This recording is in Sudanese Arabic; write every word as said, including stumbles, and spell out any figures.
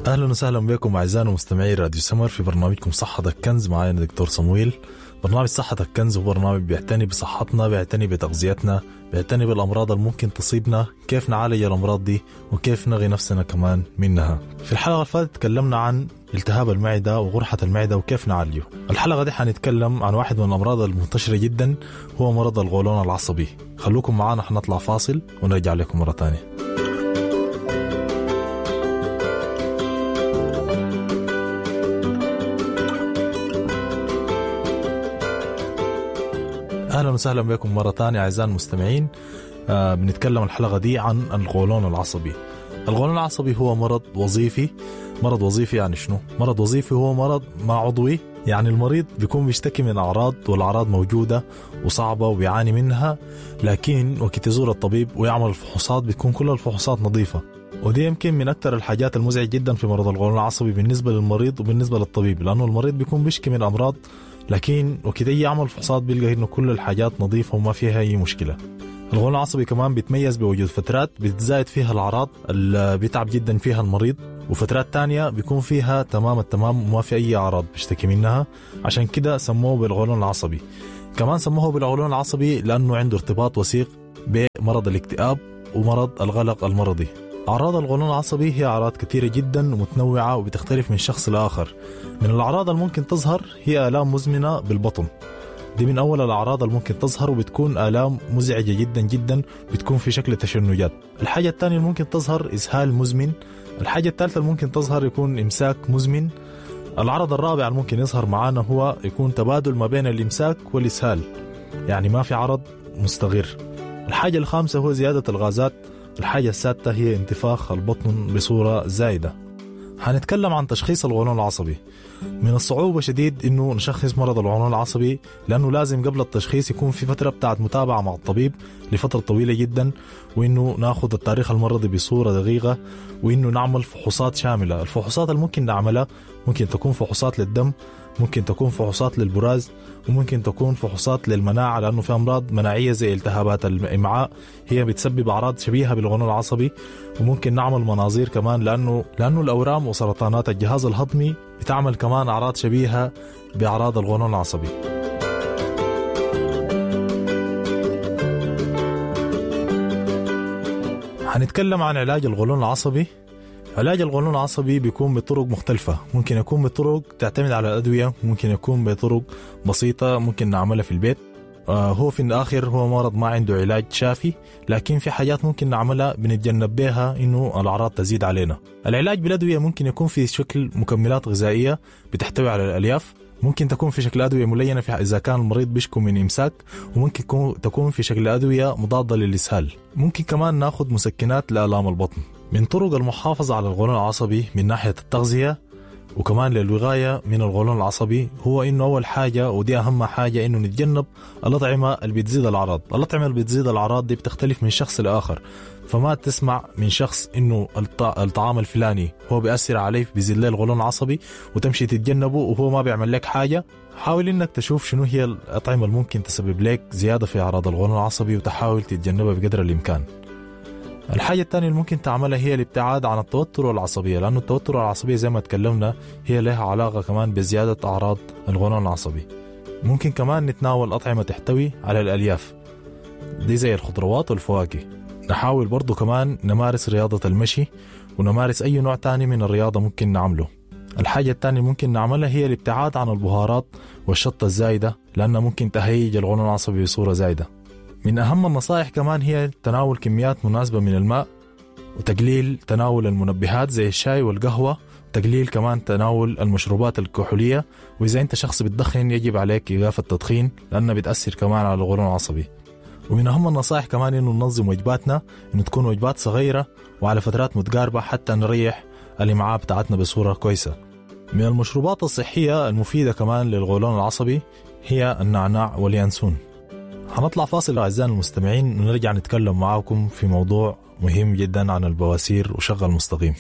اهلا وسهلا بكم اعزائنا مستمعي راديو سمر في برنامجكم صحتك كنز. معانا دكتور صمويل. برنامج صحتك كنز هو برنامج بيعتني بصحتنا، بيعتني بتغذيتنا، بيعتني بالامراض اللي ممكن تصيبنا، كيف نعالج الامراض دي وكيف نغي نفسنا كمان منها. في الحلقة اللي فاتت تكلمنا عن التهاب المعدة وقرحه المعدة وكيف نعالجه. الحلقة دي حنتكلم عن واحد من الامراض المنتشرة جدا، هو مرض القولون العصبي. خلوكم معانا، حنطلع فاصل ونرجع لكم مرة ثانية. اهلا وسهلا بكم مرة ثانية اعزائي المستمعين. آه بنتكلم الحلقة دي عن القولون العصبي. القولون العصبي هو مرض وظيفي. مرض وظيفي يعني شنو؟ مرض وظيفي هو مرض ما عضوي، يعني المريض بيكون بيشتكي من اعراض والاعراض موجودة وصعبة وبيعاني منها، لكن وقت يزور الطبيب ويعمل الفحوصات بتكون كل الفحوصات نظيفة. ودي يمكن من أكثر الحاجات المزعجة جدا في مرض القولون العصبي بالنسبة للمريض وبالنسبة للطبيب، لأنه المريض بيكون بيشكي من أمراض، لكن وكده يعمل فحوصات بيلقى إنه كل الحاجات نظيفة وما فيها أي مشكلة. القولون العصبي كمان بيتميز بوجود فترات بتزايد فيها الأعراض اللي بيتعب جدا فيها المريض، وفترات تانية بيكون فيها تمام التمام وما في أي أعراض بيشتكي منها، عشان كده سموه بالقولون العصبي. كمان سموه بالقولون العصبي لأنه عنده ارتباط وثيق بمرض الاكتئاب ومرض القلق المرضي. أعراض القولون العصبي هي أعراض كثيرة جدا ومتنوعة وبتختلف من شخص لآخر. من الأعراض اللي ممكن تظهر هي آلام مزمنة بالبطن. دي من أول الأعراض اللي ممكن تظهر، وبتكون آلام مزعجة جدا جدا، بتكون في شكل تشنجات. الحاجة الثانية اللي ممكن تظهر إسهال مزمن. الحاجة الثالثة اللي ممكن تظهر يكون إمساك مزمن. العرض الرابع اللي ممكن يظهر معانا هو يكون تبادل ما بين الإمساك والإسهال، يعني ما في عرض مستقر. الحاجة الخامسة هو زيادة الغازات. الحاجة السادسة هي انتفاخ البطن بصورة زايدة. هنتكلم عن تشخيص القولون العصبي. من الصعوبة شديد إنه نشخص مرض القولون العصبي، لأنه لازم قبل التشخيص يكون في فترة بتاعت متابعة مع الطبيب لفترة طويلة جدا، وإنه ناخذ التاريخ المرضي بصورة دقيقة، وإنه نعمل فحوصات شاملة. الفحوصات اللي ممكن نعملها ممكن تكون فحوصات للدم، ممكن تكون فحوصات للبراز، وممكن تكون فحوصات للمناعة، لأنه في أمراض مناعية زي التهابات الإمعاء هي بتسبب أعراض شبيهة بالقولون العصبي. وممكن نعمل مناظير كمان، لأنه لأنه الأورام وسرطانات الجهاز الهضمي بتعمل كمان أعراض شبيهة بأعراض القولون العصبي. هنتكلم عن علاج القولون العصبي. علاج القولون العصبي بيكون بطرق مختلفة، ممكن يكون بطرق تعتمد على الأدوية، ممكن يكون بطرق بسيطة ممكن نعملها في البيت. آه هو في الآخر هو مرض ما عنده علاج شافي، لكن في حاجات ممكن نعملها بنتجنب بها إنه الأعراض تزيد علينا. العلاج بالأدوية ممكن يكون في شكل مكملات غذائية بتحتوي على الألياف، ممكن تكون في شكل أدوية ملينة في إذا كان المريض بيشكو من إمساك، وممكن تكون في شكل أدوية مضادة للإسهال. ممكن كمان ناخذ مسكنات لآلام البطن. من طرق المحافظة على القولون العصبي من ناحية التغذية وكمان للوقاية من القولون العصبي هو إنه أول حاجة، ودي أهم حاجة، إنه نتجنب الأطعمة اللي بتزيد الأعراض. الأطعمة اللي بتزيد الأعراض دي بتختلف من شخص لآخر، فما تسمع من شخص إنه الطعام الفلاني هو بيأثر عليه بيزيد له القولون العصبي وتمشي تتجنبه وهو ما بيعمل لك حاجة. حاول إنك تشوف شنو هي الأطعمة اللي ممكن تسبب لك زيادة في أعراض القولون العصبي وتحاول تتجنبها بقدر الإمكان. الحاجة الثانية اللي ممكن تعملها هي الابتعاد عن التوتر والعصبية، لأنه التوتر والعصبية زي ما تكلمنا هي لها علاقة كمان بزيادة أعراض القولون العصبي. ممكن كمان نتناول أطعمة تحتوي على الألياف دي زي الخضروات والفواكه. نحاول برضو كمان نمارس رياضة المشي ونمارس أي نوع تاني من الرياضة ممكن نعمله. الحاجة الثانية ممكن نعملها هي الابتعاد عن البهارات والشطة الزايدة، لأنها ممكن تهيج القولون العصبي بصورة زايدة. من أهم النصائح كمان هي تناول كميات مناسبة من الماء، وتقليل تناول المنبهات زي الشاي والقهوة، تقليل كمان تناول المشروبات الكحولية. وإذا أنت شخص بتدخن يجب عليك إيقاف التدخين لأنها بتأثر كمان على القولون العصبي. ومن أهم النصائح كمان إنه ننظم وجباتنا، إنه تكون وجبات صغيرة وعلى فترات متقاربة حتى نريح الإمعاء بتاعتنا بصورة كويسة. من المشروبات الصحية المفيدة كمان للقولون العصبي هي النعناع واليانسون. هنطلع فاصل أعزائنا المستمعين ونرجع نتكلم معاكم في موضوع مهم جدا عن البواسير وشغل مستقيم.